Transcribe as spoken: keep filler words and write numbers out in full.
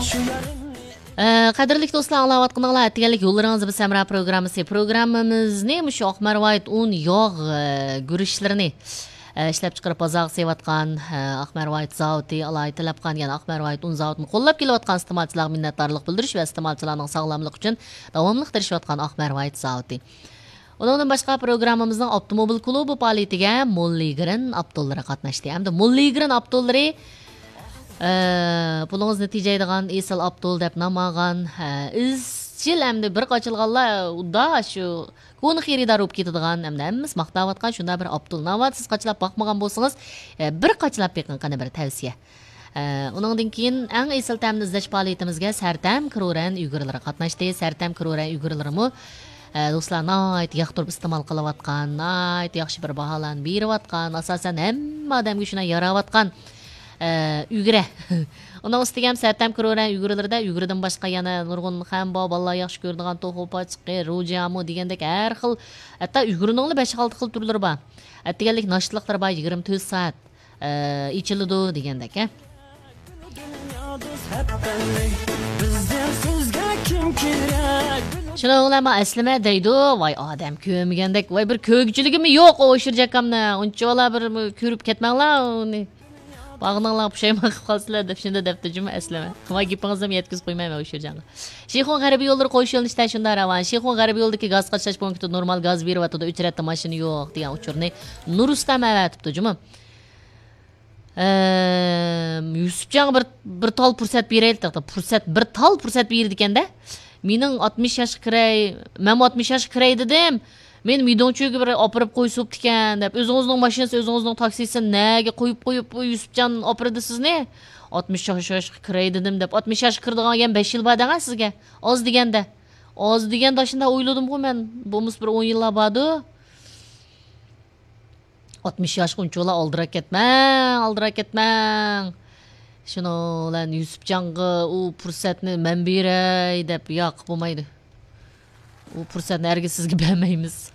ئە، قەدىرلىك دوستلار، ئاڭلاۋاتقىنىڭلار ئەتىگەنلىك يوللىرىڭىز بىز ھەمراھ پروگراممىسى. پروگراممىمىزنى مۇشۇ ئاق مەرۋايىت ئۇن ياغ، ئە، گۈرۈچلىرىنى، ئە، ئىشلەپچىقىرىپ بازارغا سېلىۋاتقان، ئە، ئاق مەرۋايىت زاۋۇتى، ئالاھىدە تەلەپ قىلغان، يەنى ئاق مەرۋايىت ئۇن زاۋۇتىنى قوللاپ كېلىۋاتقان ئىستېمالچىلارغا مىننەتدارلىق بىلدۈرۈش ۋە ئىستېمالچىلارنىڭ ساغلاملىقى ئۈچۈن داۋاملىق تىرىشىۋاتقان ئاق مەرۋايىت زاۋۇتى. ئۇنىڭدىن باشقا، پروگراممىمىزنىڭ ئاپتوموبىل كۇلۇبى پائالىيىتىگە موللىگرېن ئاپتوللىرى قاتناشتى. ھەمدە موللىگرېن ئاپتوللىرى، ئە، پۇلىڭىزنى تېجەيدىغان ئېسىل ئاپتول دەپ نام ئالغان، ئە، ئىزچىل ھەمدە بىر قاچىلىغانلار ئۇدا شۇ كونا خېرىدار بولۇپ كېتىدىغان، ھەمدە ھەممىسى ماختاۋاتقان شۇنداق بىر ئاپتول. ناۋادا سىز قاچىلاپ باقمىغان بولسىڭىز، ئە، بىر قاچىلاپ بېقىڭ، قېنى بىر تەۋسىيە. ئە، ئۇنىڭدىن كېيىن ئەڭ ئېسىل تەمنى ئىزدەش پائالىيىتىمىزگە سەرتەم كرورەن ئۇيغۇرلىرى قاتناشتى. سەرتەم كرورەن ئۇيغۇرلىرىمۇ، ئە، دوستلار، ناھايىتى ياقتۇرۇپ ئىستېمال قىلىۋاتقان، ناھايىتى ياخشى بىر باھالارنى بېرىۋاتقان، ئاساسەن ھەممە ئادەمگە شۇنداق ياراۋاتقان، ئە، ئۈگرە. ئۇنىڭ ئۈستىگە ھەم سەرتەم كرورەن ئۈگرىلىرىدە ئۈگرىدىن باشقا يەنە نۇرغۇن خەم بار، بالىلار ياخشى كۆرىدىغان توخۇ پاچىقى، روجيامۇ دېگەندەك ھەر خىل، ھەتتا ئۈگرىنىڭلا بەش-ئالتە خىل تۈرلىرى بار. ئەتىگەنلىك ناشتىلىقلىرى بار، يىگىرمە تۆت سائەت، ئە، ئېچىلىدۇ دېگەندەك، ھە. شۇنىڭ بىلەن ما ئەسلىمە دەيدۇ. ۋاي ئادەم كۆرمىگەندەك، ۋاي بىر كۆرگۈچىلىكىممۇ يوق ئۇ ئۇشۇر جاكامنى. ئۇنچىۋالا بىر كۆرۈپ كەتمەڭلار ئۇنى. باغنىڭلار پۇشايمان قىلىپ قالسىلەر دەپ شۇنداق دەپتۇ جۇمۇ ئەسلىمە. ۋاي گېپىڭىزنىمۇ يەتكۈزۈپ قويمايمەن ئۇشۇر جانغا. شىخۇن غەربىي يوللىرى قويۇش يۆنىلىشىدە شۇنداق راۋان. شىخۇن غەربىي يولىدىكى گاز قاچىلاش پونكىتىدا نورمال گاز بېرىۋاتىدۇ. ئۆچرەتتە ماشىنا يوق دېگەن ئۇچۇرنى نۇرۇستەم ئەۋەتىپتۇ جۇمۇ. ئەم، يۈسۈپجانغا بىر، بىر تال پۇرسەت بېرەيلى، تاختا پۇرسەت، بىر تال پۇرسەت بېرىدىكەندە. مېنىڭ ئاتمىش ياشقا كىرەي، مەنمۇ ئاتمىش ياشقا كىرەي دېدىم. مېنى مىدوڭچۈگە بىر ئاپىرىپ قويسا بوپتىكەن دەپ، ئۆزىڭىزنىڭ ماشىنىسى، ئۆزىڭىزنىڭ تاكسىسىنى نەگە قويۇپ، قويۇپ، يۈسۈپجان ئاپىرىدۇ سىزنى؟ ئاتمىش ياش، ياشقا كىرەي دېدىم دەپ، ئاتمىش ياشقا كىرىدىغان يەنە بەش يىل بار دەڭە سىزگە. ئاز دېگەندە. ئاز دېگەندە، شۇنداق ئويلىدىمغۇ مەن. بولمىسا بىر ئون يىللار باردۇ. ئاتمىش ياشقا ئۇنچىۋالا ئالدىراپ كەتمەڭ، ئالدىراپ كەتمەڭ. شۇنىڭ بىلەن يۈسۈپجانغا ئۇ پۇرسەتنى مەن بېرەي دەپ، ياق، بولمايدۇ. ئۇ پۇرسەتنى ھەرگىز سىزگە بەرمەيمىز.